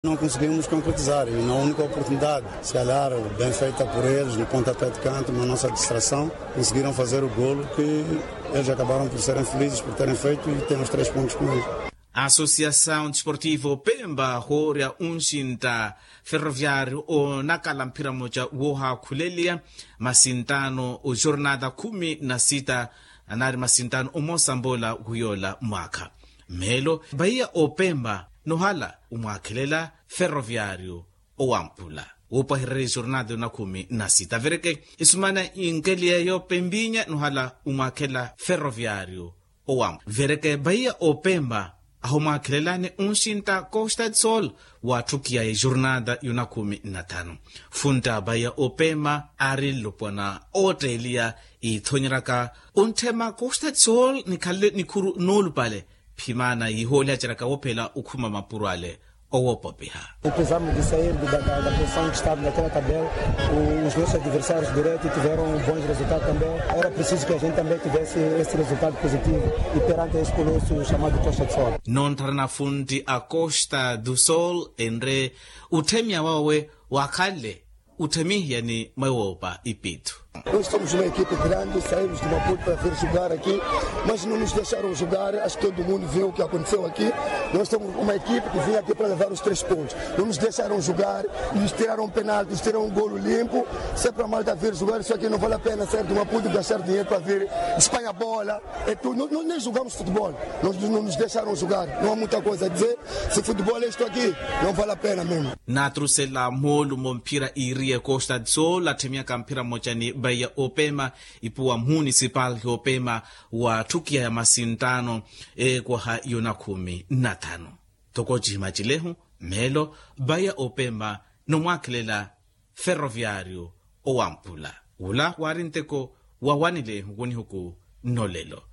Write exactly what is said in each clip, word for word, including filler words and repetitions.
Não conseguimos concretizar e na única oportunidade, se calhar bem feita por eles no pontapé de canto, uma nossa distração, conseguiram fazer o golo que eles acabaram por serem felizes por terem feito e têm os três pontos com eles. Associação Desportivo Pemba hoorya unxinta Ferroviário onakala mphira mmoja woohaakhuleliya masintano ojornada khumi na sita, anaari masintano omosa mbola wiyoola mwaakha. Mmeelo, vaiya opemba nohala omwaakhelela Ferroviário owampula, woopwahererya ejornada yoonakhumi na sita vereke isumana inkeliye yoopembinya nohala omwaakhela Ferroviário owampula vereke vaiya opemba ahomwaakhelelani unxinta Costa do Sol. Waatthukiya ejornada yoonakhumi na thanu, funta vaiya opemba aari nlopwana ootteeliya iithonyeraka ontthema Costa do Sol nikhalele nikhuru noolupale. Phimana yihoolihaceraka woophela okhuma mapuro ale owoopopiha. Precisamos de sair da posição que estava naquela tabela. Os nossos adversários diretos tiveram bons resultados também. Era preciso que a gente também tivesse esse resultado positivo e perante esse colosso chamado Costa do Sol. Noontthara nafuntti a Costa do Sol enre otthemiya wawe wakhanle otthemihiya ni mwewoopa ipithu. Nós somos uma equipe grande, saímos de Maputo para vir jogar aqui, mas não nos deixaram jogar. Acho que todo mundo viu o que aconteceu aqui. Nós somos uma equipe que vinha aqui para levar os três pontos. Não nos deixaram jogar, nos tiraram penalti, nos tiraram um golo limpo. Se é para a malta vir jogar, isso aqui não vale a pena sair de Maputo e gastar dinheiro para vir espalhar bola. É tudo. Nós, nós nem jogamos futebol. Nós não nos deixaram jogar. Não há muita coisa a dizer. Se futebol é isto aqui, não vale a pena mesmo. Naatrusela moolumo mphira iiriye Costa do Sol atthemiyaka mphira mmoja ni vaiya opema ipuwa municipal opema wa tthukiya ya masintano ekwaha yoonakhumi na thanu. Toko cihimacilehu mmeelo vaiya opema nomwaakhelela Ferroviário owampula. Wula waari nteko wawanilehu wonihuku nnolelo.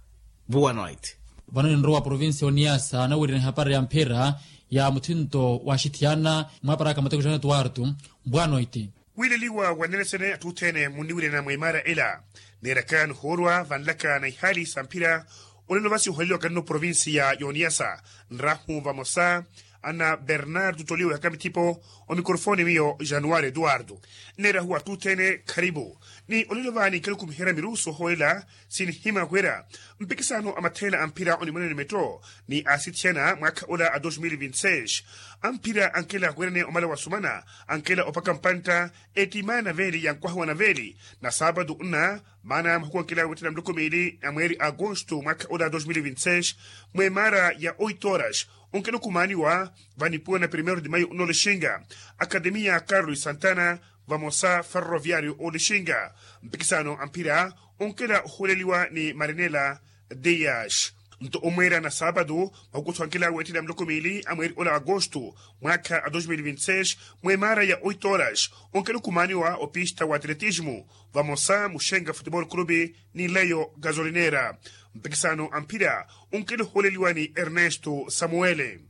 Vuwanoiti. Vano ninrowa provincia oniyasa anawirina ehapari ya mphira ya muthinto wa axithiyana mwaparaka mateko jana tuwartu. Vuwanoiti. Wiileliwa wanelesene atthu othene munniwilana mwa imaara ela. Neeraka nihoorwa vanlaka na ihaali sa mphira. Olelo vasi oholeliwaka nno provincia ya oniyasa nrahu vamosa ana bernardo tolio ehaka mithipo. Omikorofoni miyo januari eduardo. Nneerahuwa atthu othene kharipu ni olelo vaani nkhalukumiherya mirusu ohoolela. Sinihima wira mpikisano a matheela a mphira onimwanene metto ni asithiyana mwaakha ola a dos mil vinti seis. A mphira ankela wira ni omala wasumana ankela opaka mpantta. Ettima ya naveeli ya nkwaha wa naveeli na saapatu nna maana mahuku ankela weettela muloko miili a mweeri a agosto mwaakha ola a dos mil vinti seis. Mweemaara ya oito horas onkela okumaaniwa vanipuwa na primeiro de maio nno olixinga akademiya carlos santana vamosa ferroviario olixinga. Mpikisano a mphira onkela ohuuleliwa ni marinela dias. Nto omweera na saapatu mahuku otthu ankela weettela muloko miili a mweeri ola a agosto mwaakha a dos mil vinti seis. Mweemaara ya oito horas onkela okumaaniwa opista wa atletismo vamosa muxenga futebol clube ni leyo gasolinera. Mpikisano a mphira onkela ohuuleliwa ni ernesto samuele.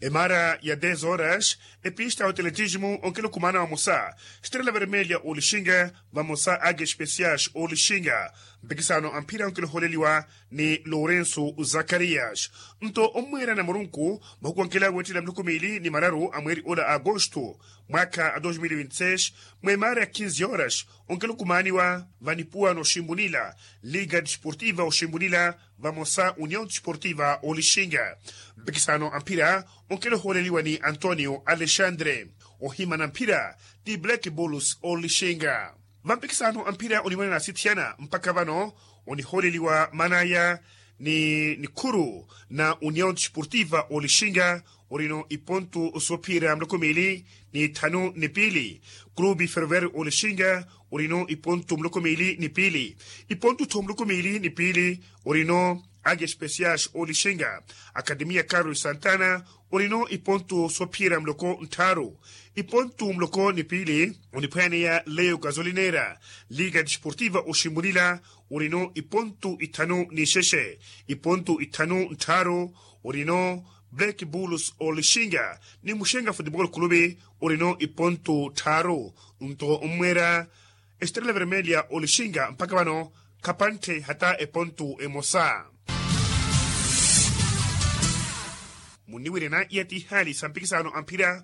Emaara ya dez horas epista ya oteletismo onkela okumaana vamosa estrela vermelha olixinga vamosa age especiais olixinga. Mpikisano a mphira onkela ohooleliwa ni lourenso zakarias. Nto ommweera na murunku mahuku ankela weettela muloko miili ni mararu a mweeri ola a agosto mwaakha a dos mil vinti seis. Mweemaara ya kinzi horas onkela okumaaniwa vanipuwa n'oximbunila liga desportiva oximbunila vamosa union desportiva olixinga. Mpikisano a mphira onkela ohooleliwa ni antonio alexandre. Ohimana mphira ti black bulls olixinga. Vampikisano a mphira onimwanene asithiyana mpakha vano onihooleliwa manaya ni nikhuru na union desportiva olixinga orino ipontu soophiyerya muloko miili ni thanu ni piili. Clube ferroviario olixinga orino ipontu muloko miili ni piili. Ipontu tho muloko miili ni piili orino age especiais olixinga akademiya carlos santana orino ipontu soophiyerya muloko nttharu. Ipontu muloko ni piili oniphwaaneya leyo gasolinera liga desportiva oximbunila orino ipontu ithanu ni xexe. Ipontu ithanu nttharu orino black bulls olixinga ni muxenga futebol clube orino ipontu tthaaru. Nto ommweera estrela vermelha olixinga mpakha vano khapanthe hata epontu emosa. Munniwirena iya ti ihaali sa mpikisano amphira.